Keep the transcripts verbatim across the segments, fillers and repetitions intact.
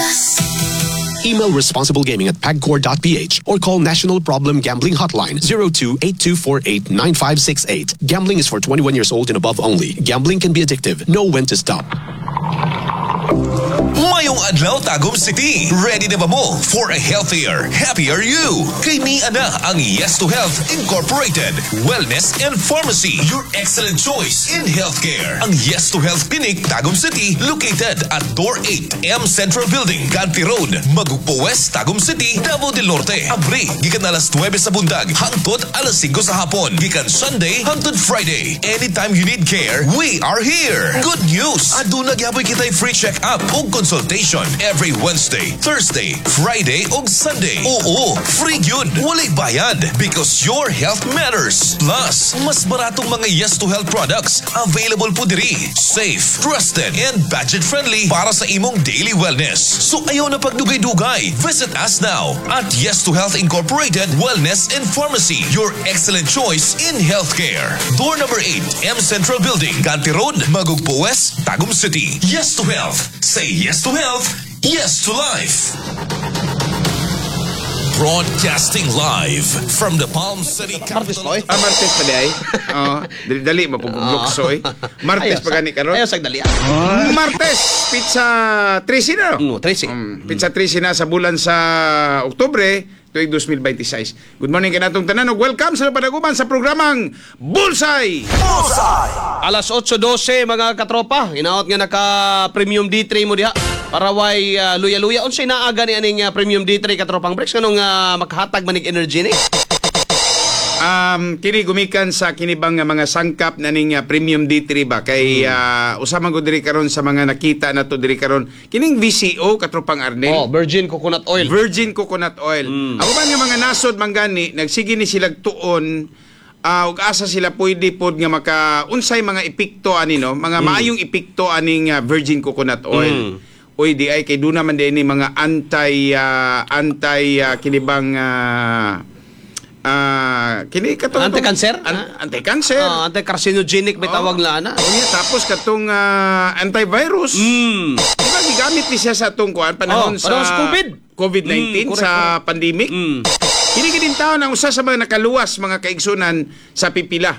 Plus. Email responsiblegaming at pagcor dot P H or call National Problem Gambling Hotline zero two, eight two four eight, nine five six eight. Gambling is for twenty-one years old and above only. Gambling can be addictive. Know when to stop. Mayong adlaw, Tagum City. Ready na ba mo for a healthier, happier you? Kay ni ana ang Yes to Health Incorporated Wellness and Pharmacy, your excellent choice in healthcare. Ang Yes to Health Clinic Tagum City, located at Door eight, M Central Building, Ganti Road, Magugpo West, Tagum City, Davao del Norte. Abri gikan alas nuwebe sa buntag hangtod alas singko sa hapon. Gikan Sunday hangtod Friday. Anytime you need care, we are here. Good news! Aduna gyapoy kitay free check-up ug consultation every Wednesday, Thursday, Friday ug Sunday. Oo, free gyud. Walay bayad because your health matters. Plus, mas baratong mga Yes to Health products available po diri. Safe, trusted, and budget-friendly para sa imong daily wellness. So ayaw na pagdugay-dugay. Visit us now at Yes to Health Incorporated Wellness and Pharmacy, your excellent choice in healthcare. Door number eight, M Central Building, Ganti Road, Magugpo West, Tagum City. Yes to Health. Say yes to health, yes to life. Broadcasting live from the Palm City Martes capital. pa, oy. Ah, Martes pa di ay. Oo, dali-dali mapuglukso eh. Martes Ayaw pa gani karon. Ayaw sag dali ah. Martes, petsa trese na, no? No, trese. Um, petsa trese na sa bulan sa Oktubre, tuig dos mil beinte sais. Good morning kanatong tanan ug welcome sa padaguman sa programang Bullseye. Alas otso dose, mga katropa. Hinaot nga naka Premium D three mo diha. Para way uh, luya-luya. Unsay naaga ni aning uh, Premium D three, katropang Bricks, kanong uh, makahatag manig energy ni? Um, kini gumikan sa kinibang nga mga sangkap na ning uh, Premium D three ba kay uh, usa man gud diri karon sa mga nakita nato diri karon kining V C O, katropang Arnel. Oh, virgin coconut oil. Virgin coconut oil. Ang uban nga mga nasod manggani nagsige ni silag tuon ah, ug asa sila pwede pod nga maka unsay mga epekto ani, no, mga maayong epekto aning ah, virgin coconut oil. Uy, di ay kay duna man din ni mga anti ah, anti ah, kinibang ah, ah, kini katong Anti-cancer? An- anti-cancer. Ah, anti-carcinogenic may tawag na ana. Unya, tapos katong ah, antivirus. Mm. Di ba gigamit ni siya sa atong kuan panahon Oh, panahon sa COVID. COVID nineteen Mm, correct, sa pandemic. Mm. Kini gid taon ang usa sa mga nakaluwas, mga kaigsunan, sa pipila.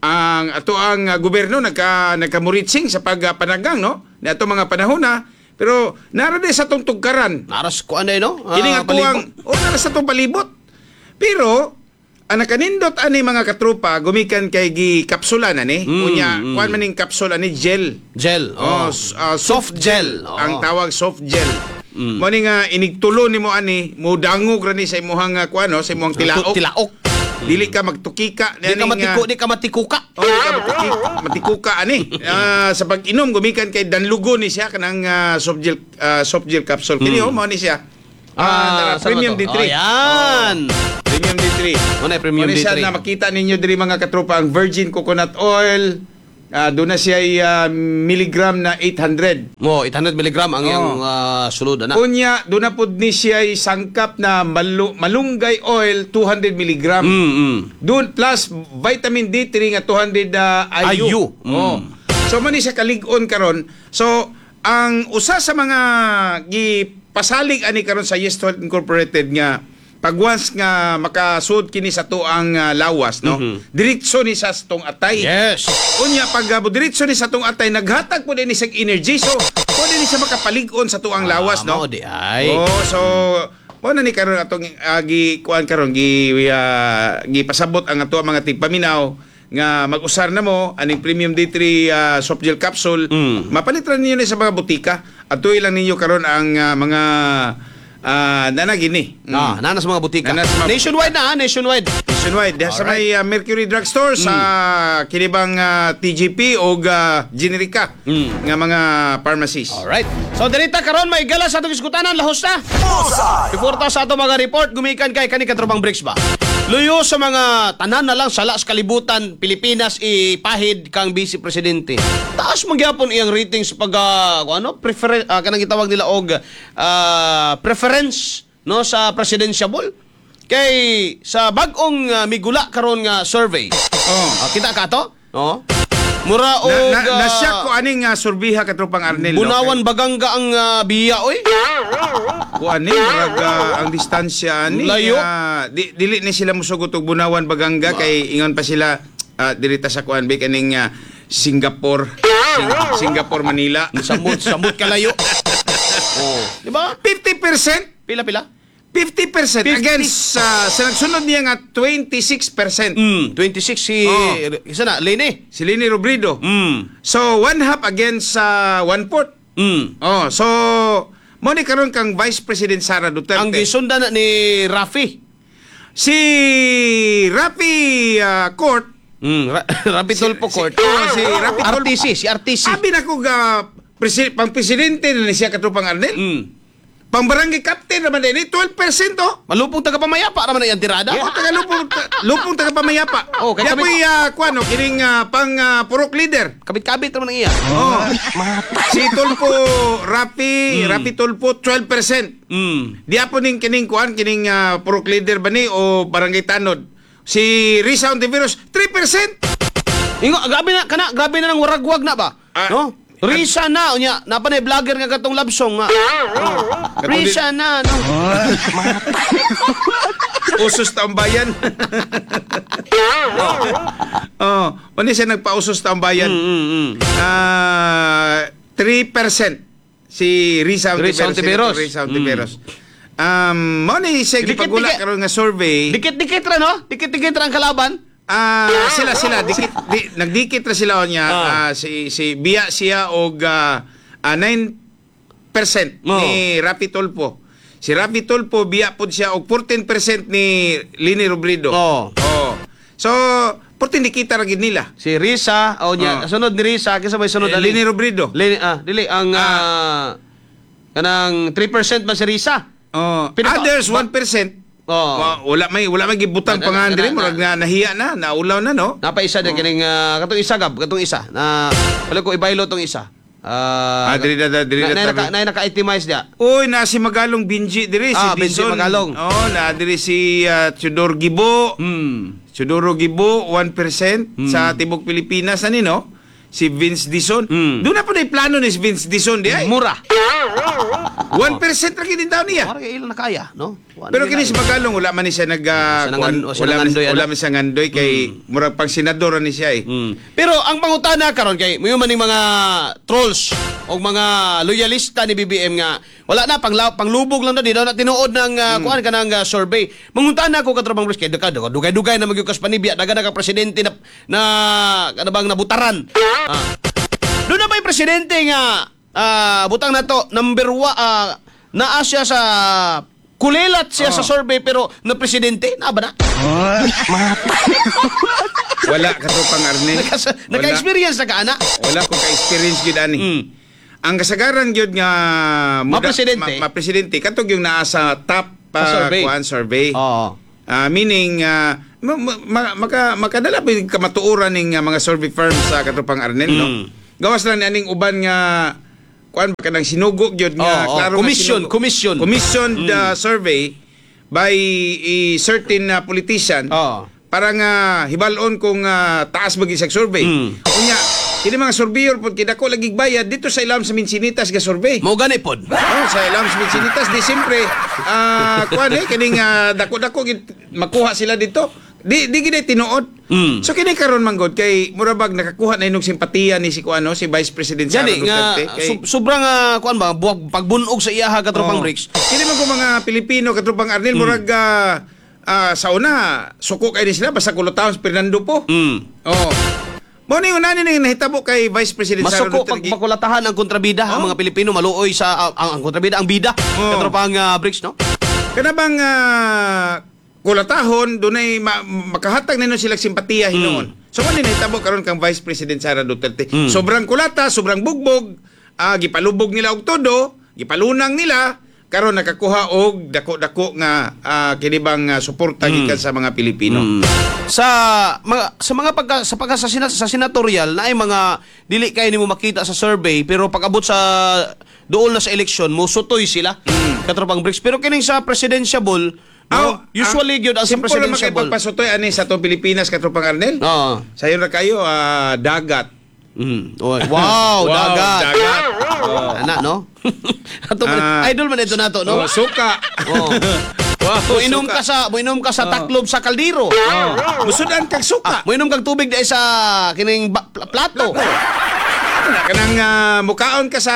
Ang ato ang uh, gobyerno nagka nagkamuritsing sa pagpanagang, no, ni ato mga panahon na, pero nara di sa atong tugkaran. Naras ko ano no? Ah, Kini nga tuwang palibot. O nara sa atong palibot. Pero ang nakanindot ani, mga katropa, gumikan kay gi kapsula na ni. Mm, Unya mm. kuan man ning kapsula ni, gel. Gel. Oh, Oh. s- ah, Soft gel. Oh. Ang tawag soft gel. Mm. Mo ni nga inigtulo nimo ani, mo dangog ra ni sa imong uh, kuan, no, sa imong tilaok. Tilaok. Dili ka magtukika. Di ka matiko, di ka matikuka. Oh, di ka matiki, matikuka ani. Ah, sa pag-inom gumikan kay danlugo ni siya kanang ah, soft gel ah, soft gel capsule. Kini oh, mo ni siya. Ah, saan Premium ba to? D three. Oh, yan. Premium D three. Mo na Premium Mo ni siya D three. na makita ninyo diri, mga katropa, ang virgin coconut oil. Ah, doon na siya ay, ah, milligram na eight hundred. Mo eight hundred milligram ang iyang ah, sulod ana. Unya, doon na pud ni siya ay sangkap na malu- malunggay oil two hundred milligram. Mm. mm. Doon plus vitamin D three nga two hundred ah, I U. I U. Mm. Oh. So man ni siya kalig-on karon. So ang usa sa mga gipasalig ani karon sa Yes to Health Incorporated nga pag once nga makasud kini sa tuang ah, lawas, no, diretso ni sa tong atay. Yes. Unya pag uh, diretso ni sa tong atay, naghatag po din ni sa energy, so pwede ni siya makapalig-on sa tuang lawas, Ah, no. mao di ay. Oh, so mo na ni karon atong uh, gi kuan karon gi uh, gipasabot ang ato mga tigpaminaw nga mag-usar na mo aning Premium D three uh, soft gel capsule. Mm. Mapalit ra ninyo ni sa mga botika. Atuy lang ninyo karon ang uh, mga uh, nanagini. Mm. Ah, nana sa mga butika. Nana sa mga Nationwide na, ah, nationwide. Nationwide. Diha sa may uh, Mercury Drugstore sa kinibang uh, T G P o uh, Generika Mm. nga mga pharmacies. Alright. So dirita karon may gala sa atong iskutanan, lahos na. Before ta sa ato mga report, gumikan kay kani, katropang Bricks ba. Luyo sa mga tanan na lang sala sa kalibutan, Pilipinas ipahid kang vice presidente. Taas man gyapon iyang rating sa pag ah, kung ano, prefer ah, kanang gitawag nila og ah, preference, no, sa presidential. Kay sa bag-ong ah, migula karon nga survey. Oh. Ah, kita ka to? No? Mura og Na, na, ah, nasyak ko aning uh, surbiha, katropang Arnel, no? Bunawan Baganga ang ah, biya oy. Kuan ni murag ah, ang distansya ani Layo. ah, di, dili ni sila musugot og Bunawan Baganga kay ingon pa sila ah, diri ta sa kuan ba kaning ah, Singapore Sing- Singapore Manila. Samot samot kalayo. Oh, di ba? fifty percent. Pila pila? fifty percent fifty. against ah, sa nagsunod niya nga twenty-six percent. Mm, twenty-six si Oh. isa na Leni. Si Leni Robredo. Mm. So one half against uh, one fourth. Mm. Oh, so mo ni karon kang Vice President Sara Duterte. Ang gisundan na ni Rafi. Si Rafi ah, Court. Mm, Ra- Rafi Tulfo Court. Si, oh, si Rafi Tulfo. R T C, si R T C. Abi na ko ga presi, pang presidente na ni siya, katropang Arnel. Mm. Pang barangay captain naman din, twelve percent oh. Malupong taga pamayapa raman na iyang tirada. Oh, taga lupong lupong taga pamayapa. Oh, kay Kaya kami- po'y uh, kuan no, kining ah, pang ah, purok leader. Kabit-kabit raman ang iya. Oh. Si Tulfo Rafi, Rafi Tulfo twelve percent. Mm. Di po ning kining kuan kining ah, purok leader ba ni o barangay tanod. Si Risa Ontiveros three percent. Ingo, grabe na kana, grabe na nang waragwag na ba? Ah, No? Risa na unya, napa na vlogger nga katong love song nga. Oh. Risa na, no. Usos taong bayan. Oh, oh, siya nagpausos taong bayan. Mm, mm. Ah, three percent si Risa Risa Ontiveros. Ontiveros. Senator Risa Ontiveros. Um, mo ni siya Dikit, gipagula dikit. karon nga survey. Dikit-dikit ra, no? Dikit-dikit ra ang kalaban. Ah, sila sila dikit di, nagdikit ra sila niya. Ah. Ah, si si biya siya og ah, ah, nine percent Oh. ni Rafi Tulfo. Si Rafi Tulfo biya pod siya og fourteen percent ni Leni Robredo. Oh. Oh. So, fourteen dikita ra gid nila. Si Risa, o niya, Oh. sunod ni Risa, kinsa may sunod Eh, ali? Leni Robredo. Leni, ah, dili ang ah, kanang three percent man si Risa. Oh, Pinaka- others one percent. Oh. Wa- wala may wala may gibutang Na- na- pangalan na- diri, na- murag na nahiya na, naulaw na, no. Napa isa din kining ah, katong isa gab, katong isa na wala ko ibaylo tong isa. Ah, Ah, diri na diri na, na. na, naka, na, naka-itemize dia. Uy, na si Magalong Benji diri, si Ah, Benji Dizon. Magalong. Oh, na diri si ah, Teodoro Gibo. Hmm. Teodoro Gibo one percent sa tibok Pilipinas ani, no. Si Vince Dizon. Mm. Doon na po na plano ni si Vince Dizon di ay. Mura. one percent ra gid daw niya. Mura kay ilang nakaya, no? Wala Pero na kini si Magalong wala man ni siya nag ah, Siya kuan, nangan- o siya wala man, nangandoy, wala ano? man siya ngandoy kay murag pang senador ni siya eh. Mm. Pero ang pangutana karon kay mayo man ning mga trolls o mga loyalista ni B B M nga wala na pang panglubog lang na di daw na tinuod ng uh, Mm. kuan kanang uh, survey. Mangutana ko, katropang Bruce, kay duka dugay-dugay na magyukas panibya daga na ka presidente na na ano bang nabutaran. Ah. Doon na ba'y presidente nga ah, butang na to number one ah, naa siya sa kulilat siya Oh. sa survey pero na presidente na ba na? Wala, katropang Arnel. Naka, Wala. naka-experience na ka ana? Wala ko ka-experience gyud ani. Mm. Ang kasagaran gyud nga muda- Ma-presidente? ma, ma-presidente katong yung naa sa top Sa uh, survey. kuan survey. Oo. Ah, meaning ah, ma, ma- ma- maka makadala pa yung kamatuoran ning ah, mga survey firms sa katropang Arnel, no. Mm. Gawas lang ni aning uban nga kuan ba kanang sinugo gyud nga Oo, oo. klaro nga Commission, sinugo. commission. Mm. Commissioned ah, survey by a certain ah, politician Oo. para nga hibalon kung ah, taas ba gyud sa survey. Mm. Unya, kini mga surveyor pod kidako lagi bayad dito sa ilam sa Minsinitas ga survey. Mo gani pod. Oh, sa ilam sa Minsinitas di siyempre ah kuan eh kining ah, dako-dako gid makuha sila dito. Di di gid tinuod. Mm. So kini karon man gud kay mura bag nakakuha na inog simpatiya ni si kuano si Vice President Sara Gani nga Duterte kay sub- sobrang ah, kuan ba buwag pagbunog sa iyaha, katropang Oh. Bricks. Kini man ko mga Pilipino, katropang Arnel, Mm. murag ah, ah, sa una suko kay ni sila basta kulotahon si Fernando Poe. Mm. Oh. Mo ni unani ning nahitabo kay Vice President Sara Masuko pag Duterte. makulatahan ang kontrabida ang Oh. mga Pilipino maluoy sa ah, ang, ang kontrabida ang bida, Oh. katropang ah, Bricks, no? Kana bang ah, kulatahon dunay ma- makahatag nino sila simpatiya hinuon. So mo ni nahitabo karon kang Vice President Sara Duterte. Sobrang kulata, sobrang bugbog, ah, gipalubog nila og todo, gipalunang nila karon nakakuha og dako-dako nga ah, kini bang ah, suporta gikan sa mga Pilipino. Sa mga sa mga pagka sa pagka sa, sena- sa senatorial na ay mga dili kay nimo makita sa survey pero pag abot sa dool na sa eleksyon mo sutoy sila, katropang Bricks, pero kining sa presidential, no, Aw, usually gyud ang sa simple lang presidential. makipagpasutoy ani sa atong Pilipinas, katropang Arnel. Oo. Sayo ra kayo ah, dagat. Mm. Oy. Wow, dagat. Dagat. Oh. Ana, no? Ato man, Ah. idol man ito nato, no? Oh, suka. Oh. Wow, Muinom suka. ka sa muinom ka sa taklob sa kaldero. Oh. Musudan kag suka. Ah, muinom kag tubig dahil sa kining ba- pl- plato. Na kanang ah, mukaon ka sa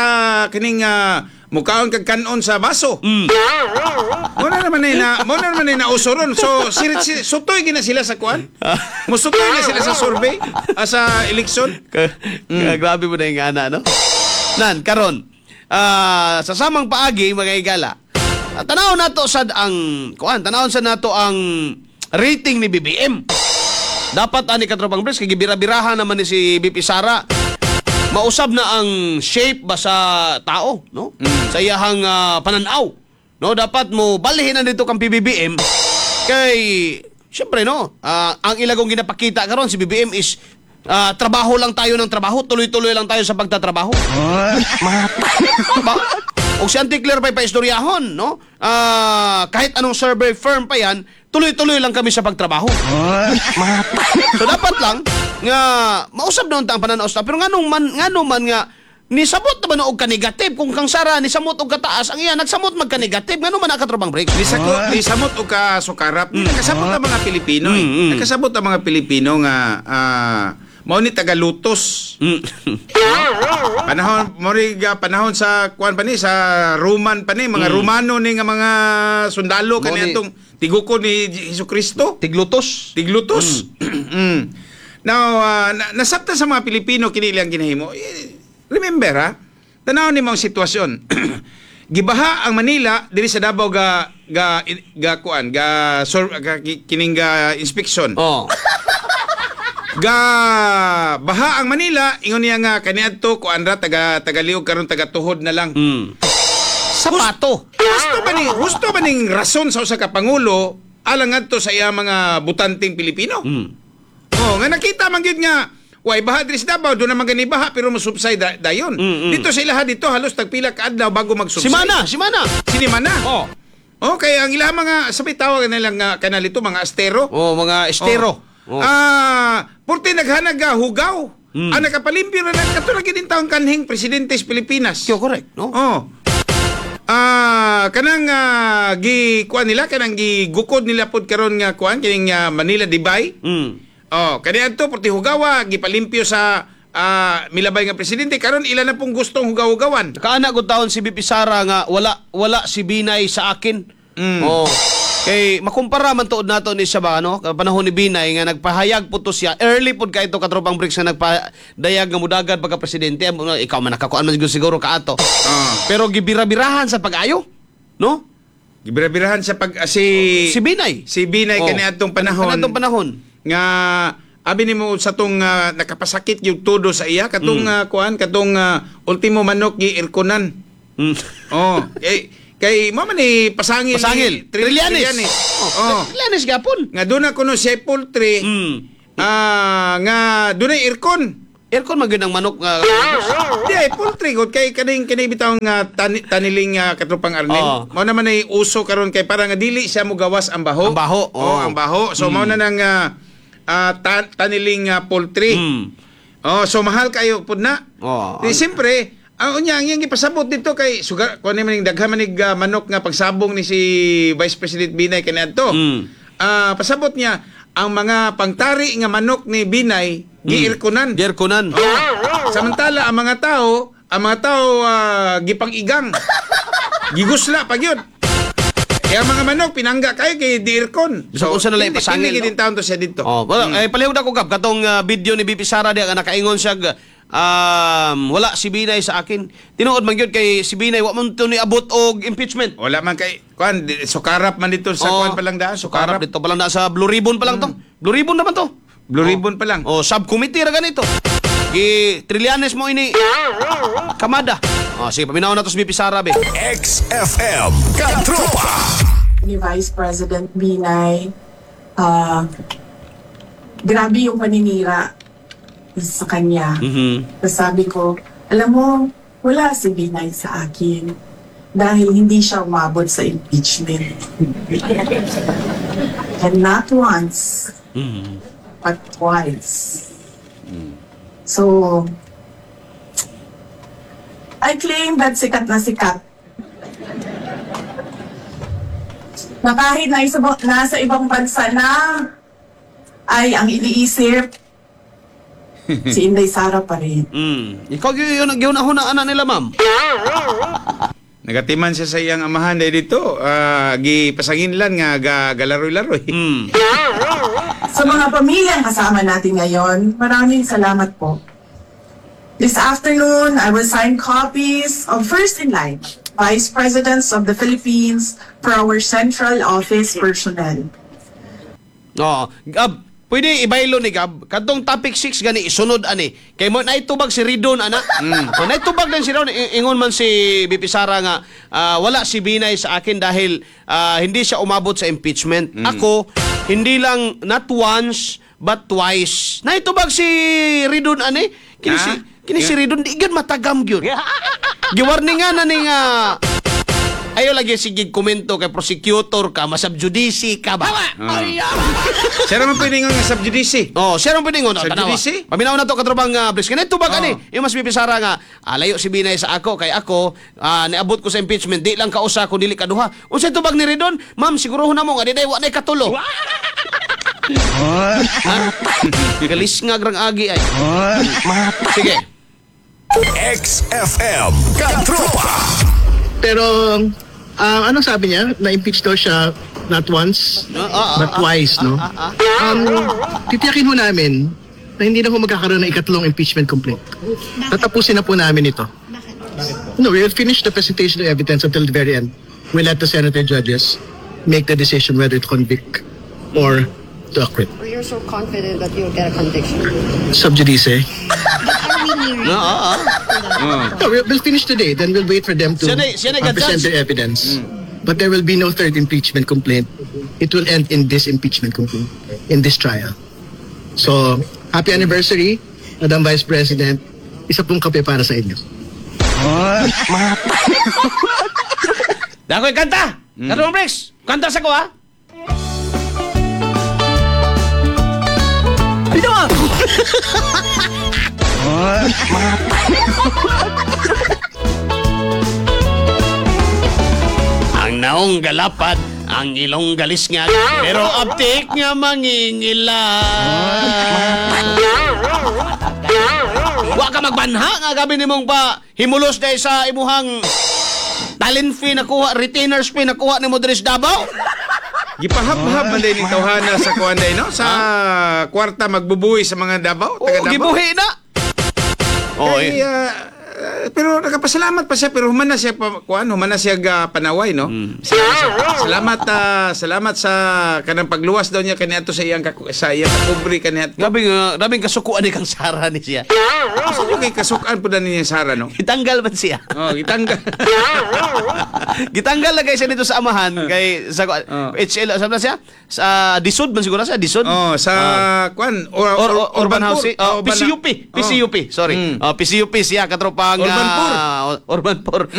kining ah, mukaon kag kanon sa baso. Mm. Mo na naman ay na mo na naman ay nauso ron. So sirit si, sutoy gina sila sa kuan. Musutoy na sila sa survey, ah, sa election. Ka- ka- Grabe mo na yung ana, no? Nan, karon ah, sa samang paagi, mga igala, ah, tanaw nato sad ang, kuan, tanaw sad nato ang rating ni B B M. Dapat ani, katropang Bres, kay gibira-birahan naman ni si V P Sara. Mausab na ang shape ba sa tao, no? Sa iyahang ah, pananaw. No, dapat mo balhin na dito kang P B B M kay syempre, no, ah, ang ilagong ginapakita karon si B B M is ah, trabaho lang tayo ng trabaho, tuloy-tuloy lang tayo sa pagtatrabaho. Ba? Og si Auntie Claire pa'y paistoryahon, no? Ah, kahit anong survey firm pa yan, tuloy-tuloy lang kami sa pagtrabaho. So dapat lang nga mausab na unta ang pananaw sa pero nganong man ngano man nga nisabot na ba na og ka-negative kung kang Sara nisamot og kataas, ang iya nagsamot magka-negative, ngano man, katropang Bricks? Ni sako, ni samot og ka sukarap. Ni nakasabot ang mga Pilipino eh. Mm, mm. Nakasabot ang mga Pilipino nga ah, mao ni tagalutos. Mm. Panahon mo ri ga panahon sa kuan pa ni, sa Roman pa ni, mga Romano ni nga mga sundalo Mao ni- kani atong tigukod ni Hesus Kristo. Tiglutos. Tiglutos. Mm. Now, ah, na, nasabtan sa mga Pilipino kini ilang ginahimo. Eh, remember ha, tanaw ni ang sitwasyon. Gibaha ang Manila diri sa Davao, ga ga ga kuan ga, sur, ga kining ga inspection. Oh. Ga baha ang Manila, ingon niya nga kaniadto kuan ra, taga tagaliog, karon taga tuhod na lang. Mm. Sapato. Husto ba ni husto ba ning rason sa usa ka pangulo alang ngadto sa iya mga butanteng Pilipino? Mm. Oh, nga nakita man gyud nga way baha diri sa Davao, doon naman gani baha pero mo-subside da- dayon. Mm, mm. Dito sa ilaha dito halos tagpila ka adlaw bago mag-subside. Simana, simana. Sinimana. Oh. Oh, kaya ang ilaha mga sabi tawag nila nga kanal ito mga estero. Oh, mga estero. Oh. Oh. Ah, porte naghanag ga hugaw. Mm. Ang nakapalimpyo na lang kato lagi din taong kanhing presidente sa Pilipinas. Kyo, correct, no? Oh. Ah, kanang ah, gi kuan nila, kanang gigukod nila pod karon nga kuan kining ah, Manila Dubai. Mm. Oh, kaniadto porte hugawa gipalimpyo sa ah, milabay nga presidente, karon ila na pong gustong hugaw-hugawan. Kaana gud taon si V P Sara nga wala wala si Binay sa akin. Mm. Oh. Kay makumpara man tuod nato ni siya ba, ano, panahon ni Binay nga nagpahayag po to siya early pod kay ito, katropang Bricks, nga nagpadayag nga mudagad pagka presidente. Ikaw man nakakuan man siguro, siguro kaato. Ah. Pero gibira-birahan sa pag-ayo, no? Gibira-birahan sa pag ah, si Si Binay. Si Binay Oh. kaniadtong panahon. Kaniadtong panahon. Nga abi nimo sa tong ah, nakapasakit yung todo sa iya katong Mm. ah, kuan katong ah, ultimo manok gi irkonan. Mm. Oh, kay kay mo man ni pasangil ni Pasangil. Tri- Trillanes. Trillanes. Oh. Oh. Trillanes gapon. Nga doon na kuno siya poultry. Mm. Ah, nga doon ay aircon. Aircon man gyud ang manok nga. Di ay poultry gud kay kaning kani bitaw nga tani, taniling uh, katropang Arnel. Oo. Mao naman ay uso karon kay para nga dili siya mo gawas ang baho. Ang baho, Oh, oo. ang baho. So mao na nang ah, ah, ta- taniling ah, poultry. Mm. Oh, so mahal kayo pud na. Oo. Di siyempre, ang unya ang iyang gipasabot dito kay sugar kuan man ning daghan man ning ah, manok nga pagsabong ni si Vice President Binay kaniadto. Mm. Ah, pasabot niya ang mga pangtari nga manok ni Binay giirkonan. Airconan. Oh. Samantala ang mga tao, ang mga tao ah, gipang-igang. Gigusla pa gyud. Eh, ang mga manok pinangga kayo kay di-aircon. So, unsa na lang ipasangil, Pili no? din taon to siya dito. Oh, well, eh palihog na ko gab katong ah, video ni V P Sara diya nga nakaingon siya ga, um, wala si Binay sa akin. Tinuod man gyud kay si Binay wa man to ni abot og impeachment. Wala man kay kuan di- sukarap man dito sa Oh, kuan pa lang daan, Sukarap sukarap. dito pa lang na sa Blue Ribbon pa lang to. Blue Ribbon naman to. Blue Ribbon pa lang. Oh, subcommittee ra ganito. Gi Trillanes mo ini kamada. Oh, sige, paminaw na to si V P Sara be. X F M Katropa. Ni Vice President Binay, ah, grabe yung paninira sa kanya. Mhm. Tapos sabi ko, alam mo, wala si Binay sa akin dahil hindi siya umabot sa impeachment. And not once, Mhm. but twice. So, I claim that sikat na sikat. Na kahit na isa, nasa ibang bansa na, ay ang iniisip, si Inday Sara pa rin. Mm. Ikaw gyud gyud na ana nila, ma'am. Nagatiman siya sa iyang amahan dahil dito. Ah, gipasanginlan nga ga, galaroy-laroy. Mm. Sa mga pamilyang kasama natin ngayon, maraming salamat po. This afternoon, I will sign copies of First in Line, Vice Presidents of the Philippines for our central office personnel. Oo. Gab, pwede ibaylo ni Gab. Kadtong topic six gani isunod ani. Kay mo naitubag si Ridon ana. Mm. Oh, naitubag din si Ridon. I- Ingon man si V P Sara nga ah, wala si Binay sa akin dahil ah, hindi siya umabot sa impeachment. Ako hindi lang not once but twice. Naitubag si Ridon ani. Kini si Ah? kini si Ridon di gyud matagam gyud. Giwarningan na ni nga ayo lagi sige komento kay prosecutor ka, masab judice ka ba? Siya naman pwede nga sub judice. Oh, siya rin pwede ngon. Sa Tanawa. judice? Paminaw na to katropang uh, Bris. Kanay tubag Oh. ani. Yung mas V P Sara nga ah, layo si Binay sa ako kay ako ah, niabot ko sa impeachment di lang kausa kun dili kaduha. Unsay tubag ni Ridon? Ma'am, siguro na mo nga di wa nay katulo. Ha? Galis nga grang agi ay. Sige. X F M Katropa. Pero, ah, anong sabi niya? Na-impeach daw siya not once, Ah, ah, but twice, no? Um, titiyakin ho namin na hindi na ho magkakaroon ng ikatlong impeachment complaint. Tatapusin na po namin ito. No, we will finish the presentation of evidence until the very end. We'll let the senator judges make the decision whether to convict or to acquit. Or you're so confident that you'll get a conviction? Sub judice. But are we nearing No, ah, ah. No, we'll, we'll finish today. Then we'll wait for them to Siya na- siya na uh, present ga-judge. their evidence. But there will be no third impeachment complaint. It will end in this impeachment complaint, in this trial. So, happy anniversary, Madam Vice President. Isa pong kape para sa inyo. Dakoy kanta. Mm. Katropang Bricks. Kanta sa ko ha. Bitaw! Ang naong galapad, ang ilong galisngag, pero aptik nga mangingila. Wa ka magbanha nga gabi nimong pa himulos dahil sa imuhang talent fee nakuha, retainers fee nakuha nimo diri sa Davao. Gipahab-hab man din ni tawhana sa kuan day, no? Sa kwarta magbubuhi sa mga Davao, taga Oh, Davao. gibuhi na. Oh, Kay, eh. ah, ah, pero nakapasalamat pa siya pero human na siya pa, kuan human na siya ga panaway, no. Hmm. Salamat, salamat ah, salamat sa kanang pagluwas daw niya kaniadto sa iyang kaku- sa iyang kapobre kaniadto. Grabe nga, grabe kasukuan ni kang Sara ni siya. Asa nyo kay kasukan po na niya Sara, no? Gitanggal man siya. Oh, gitanggal. Gitanggal lagay siya dito sa amahan kay sa Oh. H L sa siya sa Disod man siguro siya Disod. Oh, sa kuan or, Or, or, urban, Poor. Housing, oh, Urban- P C U P, Oh. P C U P, sorry. Mm. Oh, P C U P siya katropang Urban ah, Urban Poor.